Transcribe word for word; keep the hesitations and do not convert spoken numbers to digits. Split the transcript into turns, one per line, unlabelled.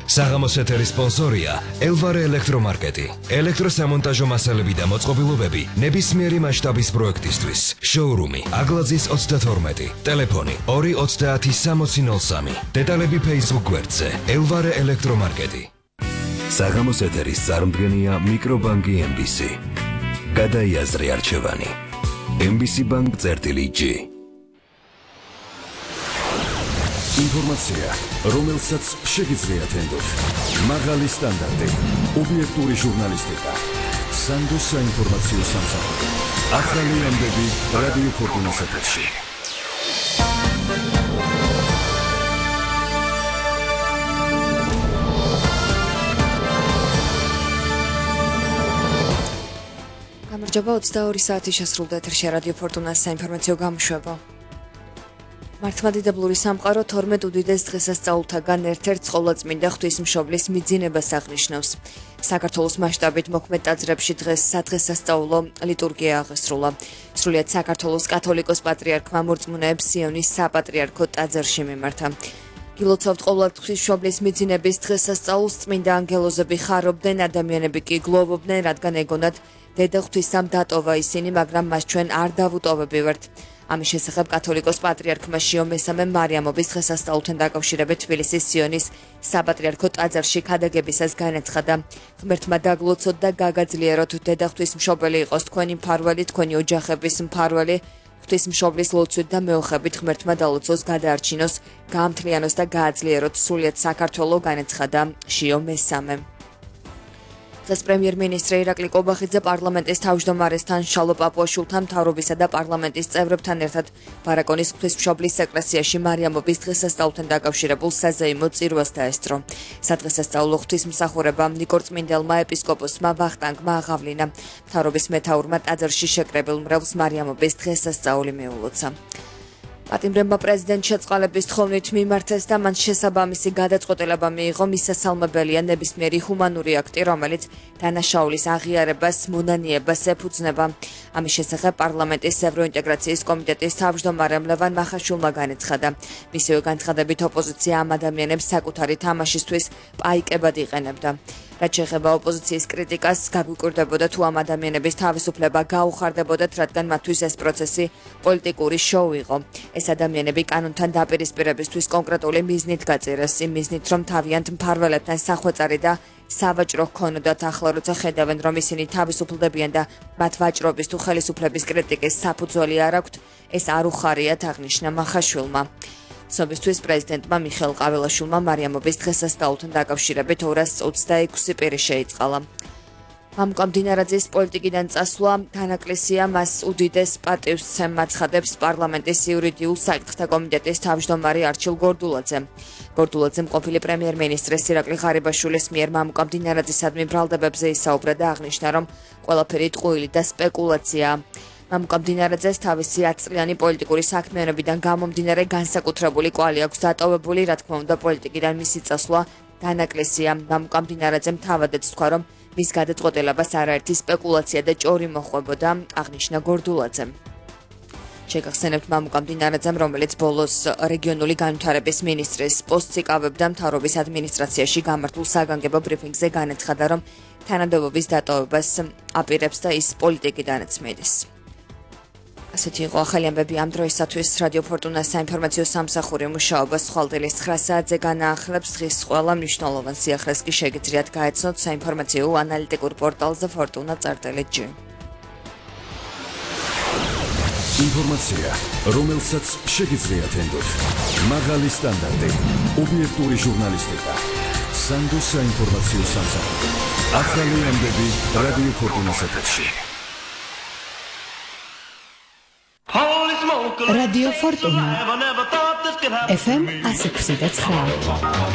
საღამოს ეთერის სპონსორია ელვარე ელექტრომარკეტი. ელექტროსამონტაჟო მასალები და მოწყობილობები ნებისმიერი მასშტაბის პროექტისთვის. შოურუმი აგლაძის ოცდათორმეტი. ტელეფონი ორი ოცდაათი სამოცი ნოლ სამი. დეტალები Facebook გვერდზე ელვარე ელექტრომარკეტი. საღამოს ეთერის წარმდგენია მიკრობანკი ემ ბი სი. გადაიაზრე არჩევანი. ემ ბი სი ბანკ წერტილი ჯი. ინფორმაცია, რომელსაც შეგიძლიათ ენდოთ. მაღალი სტანდარტი, ობიექტური ჟურნალისტიკა. სანდოს საინფორმაციო სამსახური. ახალი ამბები რადიო ფორტუნას ეთერში.
გამარჯობა, ოცდაორი საათი შესრულდა ეთერში რადიო ფორტუნას საინფორმაციო გამოშვება. მართლმადიდებლური სამყარო თორმეტ უდიდეს დღესასწაულთაგან ერთ-ერთ ყოვლადწმინდა ღვთისმშობლის მიძინებას აღნიშნავს. საქართველოს მასშტაბით მოქმედ ტაძრებში დღეს სადღესასწაულო ლიტურგია აღესრულა. სრულიად საქართველოს კათოლიკოს პატრიარქმა მორწმუნეებს სიონის საპატრიარქო ტაძარში მიმართა. გილოცავთ ყოვლად ღვთისმშობლის მიძინების დღესასწაულს, წმინდა ანგელოზები ხარობდნენ, ადამიანები კი გლოვობდნენ, რადგან ეგონათ დედა ღვთისამ დატოვა ისინი, მაგრამ მას ჩვენ არ დავუტოვებივართ. ამის შესახებ კათოლიკოს პატრიარქმა შიო მესამე მარიამობის დღესასწაულთან დაკავშირებით თბილისის სიონის საპატრიარქო ტაძარში ქადაგებისას განაცხადა. ღმერთმა დაგლოცოთ და გაგაძლიეროთ, დედა ღვთისმშობელი იყოს თქვენი მფარველი, თქვენი ოჯახების მფარველი, ღვთისმშობლის ლოცვით და მეოხებით ღმერთმა დალოცოს, გადაარჩინოს, გაამთლიანოს და გააძლიეროთ სრულიად საქართველო, განაცხადა შიო მესამე. დღეს პრემიერ-მინისტრი ირაკლი კობახიძე პარლამენტის თავმჯდომარესთან, შალო პაპუაშვილთან, მთავრობისა და პარლამენტის წევრებთან ერთად ბარაკონის ღვთისმშობლის ეკლესიაში მარიამობის დღესასწაულთან დაკავშირებულ საზეიმო წირვას დაესწრო. სადღესასწაულო ღვთისმსახურება ნიკორ წმინდელმა ეპისკოპოსმა ვახტანგმა აღავლინა. მთავრობის მეთაურმა ტაძარში შეკრებილ მრევლს მარიამობის დღესასწაული მიულოცა. პატიმრებმა პრეზიდენტ შეწყალების თხოვნით მიმართეს და მან შესაბამისი გადაწყვეტილება მიიღო. მისასალმებელია ნებისმიერი ჰუმანური აქტი, რომელიც დანაშაულის აღიარებას, მონანიებას ეფუძნება. ამის შესახებ პარლამენტის ევროინტეგრაციის კომიტეტის თავმჯდომარემ ლევან მახაშვილმა განაცხადა. მისივე განცხადებით ოპოზიცია ამ ადამიანებს საკუთარი თამაშისთვის პაიკებად იყენებდა. რაც შეეხება ოპოზიციის კრიტიკას, გაგვიკვირდებოდა თუ ამ ადამიანების თავისუფლება გაუხარდებოდათ, რადგან მათთვის ეს პროცესი პოლიტიკური შოუ იყო. ეს ადამიანები კანონთან დაპირისპირებისთვის კონკრეტული მიზნით გაწერეს, იმ მიზნით, რომ თავიანთ მფარველებთან სახვეწარი და სავაჭრო ჰქონოდათ. ახლა როცა ხედავენ, რომ ისინი თავისუფლდებიან და მათ ვაჭრობის თუ ხელისუფლების კრიტიკის საფუძველი არ აქვთ, ეს არ უხარიათ, აღნიშნა მახაშვილმა. ცნობისთვის პრეზიდენტმა მიხეილ ყაველაშვილმა მარიამობის დღესასწაულთან დაკავშირებით ორას ოცდაექვსი პირი შეიწყალა. მამუკა მდინარაძის პოლიტიკიდან წასვლა განაკლისია, მას უდიდეს პატივს ემაცხადებს პარლამენტის იურიდიულ საკითხთა კომიტეტის თავმჯდომარე არჩილ გორდულაძე. გორდულაძემ ყოფილი პრემიერ-მინისტრის ირაკლი ღარიბაშვილის მიერ მამუკა მდინარაძისადმი ბრალდებებზე ისაუბრა და აღნიშნა, რომ ყველაფერი ტყუილი და სპეკულაციაა. მამუკა მდინარაძეს თავისი ათწლიანი პოლიტიკური საქმიანობიდან გამომდინარე განსაკუთრებული კვალი აქვს დატოვებული, რა თქმა უნდა, პოლიტიკიდან მისი წასვლა განაკლისია. მამუკა მდინარაძემ თავადაც თქვა, რომ მის გადაწყვეტილებას არაერთი სპეკულაცია და ჭორი მოხვებოდა, აღნიშნა გორდულაძემ. შეგახსენებთ მამუკა მდინარაძემ, რომელიც ბოლოს რეგიონული განვითარების მინისტრის პოსტს იკავებდა, მთავრობის ადმინისტრაციაში გამართულ საგანგებო ბრიფინგზე განაცხადა, რომ თანამდებობის დატოვებას აპირებს და ის პოლიტიკიდანაც მიდის. ასეთი იყო ახალი ამბები ამ დროისათვის. რადიო ფორტუნას საინფორმაციო სამსახური მუშაობა სხვალდილის ცხრა საათზე განაახლებს. დღის ყველა მნიშვნელოვან სიახლეს კი შეგიძლიათ გაეცნოთ საინფორმაციო ანალიტიკურ პორტალზე ფორტუნა წერტილი ჯი.
ინფორმაცია, რომელსაც შეგიძლიათ ენდოთ. მაღალი სტანდარტი, ობიექტური ჟურნალისტიკა. სანდოს საინფორმაციო სამსახური. ახალი ამბები რადიო ფორტუნას ეთერში.
Radio Fortuna F M one oh six point nine